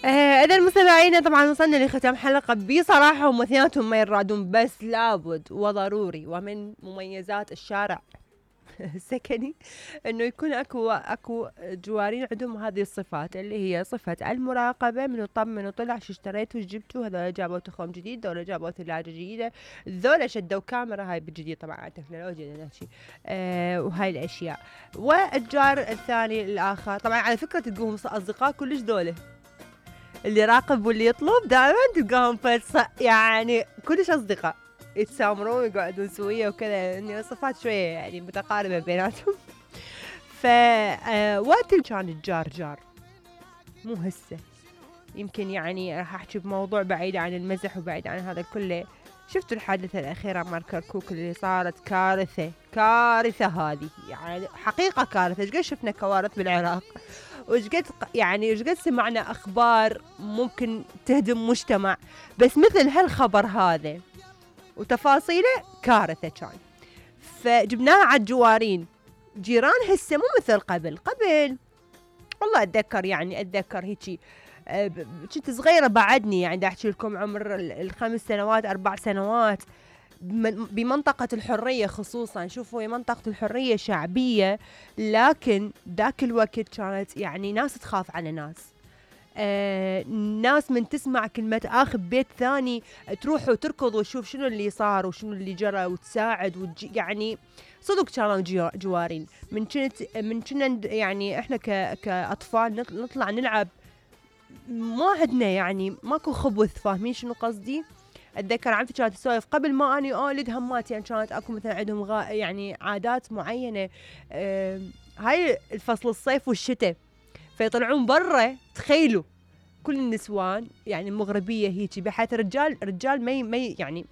اذا المستمعين طبعا وصلنا لختام حلقة. بصراحة هم اثنيناتهم ما يرادون، بس لابد وضروري ومن مميزات الشارع السكني انه يكون اكو جوارين عندهم هذه الصفات، اللي هي صفة المراقبة، من يطمن وطلع شو اشتريتوا، شو جبتوا، هذول جابوا تخوم جديد، هذول جابوا ثلاجة جديدة، ذولا شدوا كاميرا، هاي بالجديد طبعا على التكنولوجيا نحكي. وهاي الاشياء. والجار الثاني الاخر طبعا على فكرة تلقوهم اصدقاء كلش ذولا، اللي يراقب واللي يطلب دائما تلقاهم يعني كلش اصدقاء، يتسامرون ويقعدون سوية وكذا، يعني صفات شوية يعني متقاربة بيناتهم. ف وقت كان الجار جار مو هسه، يمكن يعني راح احكي بموضوع بعيد عن المزح وبعيد عن هذا كله. شفتوا الحادثة الأخيرة مال كركوك اللي صارت؟ كارثة كارثة هذه، يعني حقيقة كارثة. ايش قد شفنا كوارث بالعراق، وايش قد يعني ايش قد سمعنا أخبار ممكن تهدم مجتمع، بس مثل هالخبر هذا وتفاصيله كارثة كان. فجبناها على الجوارين، جيران هسه مو مثل قبل. قبل والله اتذكر هيجي كنت صغيرة بعدني، يعني دا احكي لكم عمر ال5 سنوات 4 سنوات، بمنطقة الحرية خصوصا. شوفوا هي منطقة الحرية شعبية، لكن ذاك الوقت كانت يعني ناس تخاف على ناس. ناس من تسمع كلمة آخ ببيت ثاني تروح وتركض وتشوف شنو اللي صار وشنو اللي جرى وتساعد يعني صدق كانوا جوارين. من كنا يعني احنا كأطفال نطلع نلعب، ما عندنا يعني ماكو خبث، فاهمين شنو قصدي؟ اتذكر عمتي كانت تسولف قبل ما اني اولد هماتي، يعني كانت اكو مثلا عندهم يعني عادات معينه. هاي الفصل الصيف والشتاء، فيطلعون برا. تخيلوا كل النسوان يعني مغربيه هيجي، بحيث رجال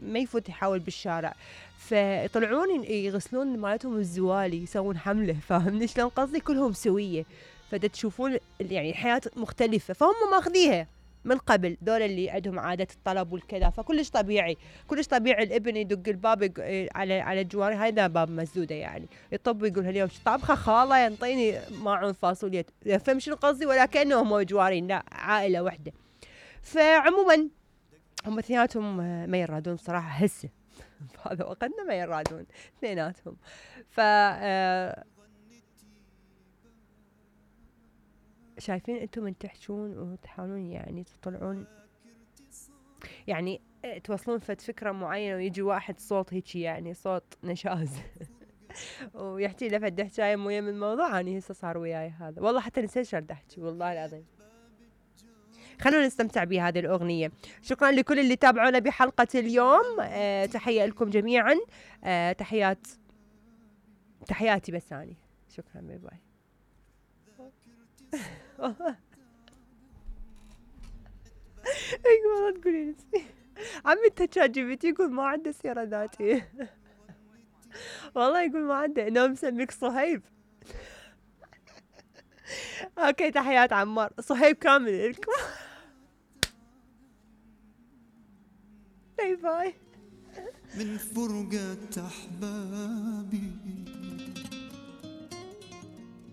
ما يفوت يحاول بالشارع، فيطلعون يغسلون مالتهم الزوالي، يسوون حمله. فاهمني شلون قصدي؟ كلهم سويه، فدا تشوفون يعني الحياه مختلفه، فهم ماخذيها من قبل. دول اللي عندهم عادة الطلب والكذا، فكلش طبيعي، كلش طبيعي الابن يدق الباب على الجواري. هذا باب مسدودة يعني، يطب ويقول اليوم طابخة خالة ينطيني ماعون فاصوليا. فهم شنو قصدي؟ ولا كأنهم جوارين، لا، عائلة واحدة. فعموما هم اثنيناتهم ما يرادون بصراحة هسه بهذا وقتنا، ما يرادون اثنيناتهم. ف شايفين انتم من تحجون وتحاولون يعني تطلعون، يعني توصلون فد فكرة معينة، ويجي واحد صوت هيجي يعني صوت نشاز ويحكي له فد حكاية مو من الموضوع. اني هسه صار وياي هذا، والله حتى نسيت شو بدي احكي والله العظيم. خلونا نستمتع بهذه الأغنية. شكرا لكل اللي تابعونا بحلقة اليوم. تحية لكم جميعا. تحياتي بس اني. شكرا، باي باي. ايوه والله تقولين عمي التشات جي بي تي يقول ما عنده سيرة ذاتية. والله يقول ما عنده، انه مسميك صهيب. اوكي، تحيات عمار صهيب كامل لكم. باي باي. من فرقة أحبابي